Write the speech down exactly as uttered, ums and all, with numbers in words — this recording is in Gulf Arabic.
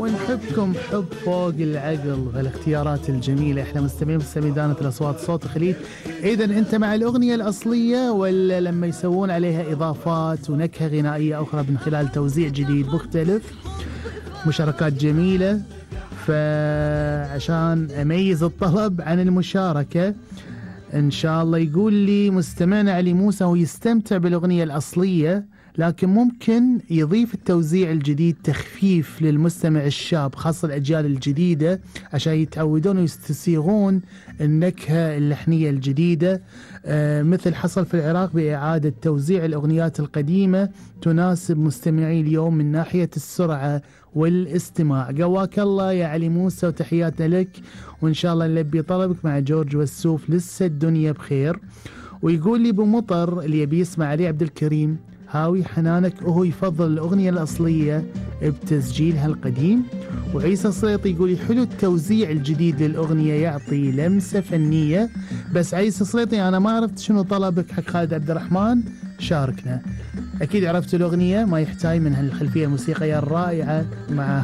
ونحبكم حب فوق العقل. فالاختيارات الجميلة احنا مستمعين في ميدانة الأصوات صوت الخليج. إذا أنت مع الأغنية الأصلية ولا لما يسوون عليها إضافات ونكهة غنائية أخرى من خلال توزيع جديد مختلف؟ مشاركات جميلة، فعشان أميز الطلب عن المشاركة إن شاء الله يقول لي مستمعنا علي موسى هو يستمتع بالأغنية الأصلية، لكن ممكن يضيف التوزيع الجديد تخفيف للمستمع الشاب خاصة الأجيال الجديدة عشان يتعودون ويستسيغون النكهة اللحنية الجديدة. آه مثل حصل في العراق بإعادة توزيع الأغنيات القديمة تناسب مستمعي اليوم من ناحية السرعة والاستماع. قواك الله يا علي موسى وتحياتنا لك، وإن شاء الله نلبي طلبك مع جورج والسوف. لسه الدنيا بخير. ويقول لي بمطر اللي يبي يسمع علي عبد الكريم هاوي حنانك، وهو يفضل الأغنية الأصلية بتسجيلها القديم. وعيسى السليطي يقول لي حلو التوزيع الجديد للأغنية يعطي لمسة فنية. بس عيسى السليطي أنا ما عرفت شنو طلبك حق خالد عبد الرحمن، شاركنا. أكيد عرفت الأغنية، ما يحتاج من هالخلفية الموسيقية الرائعة مع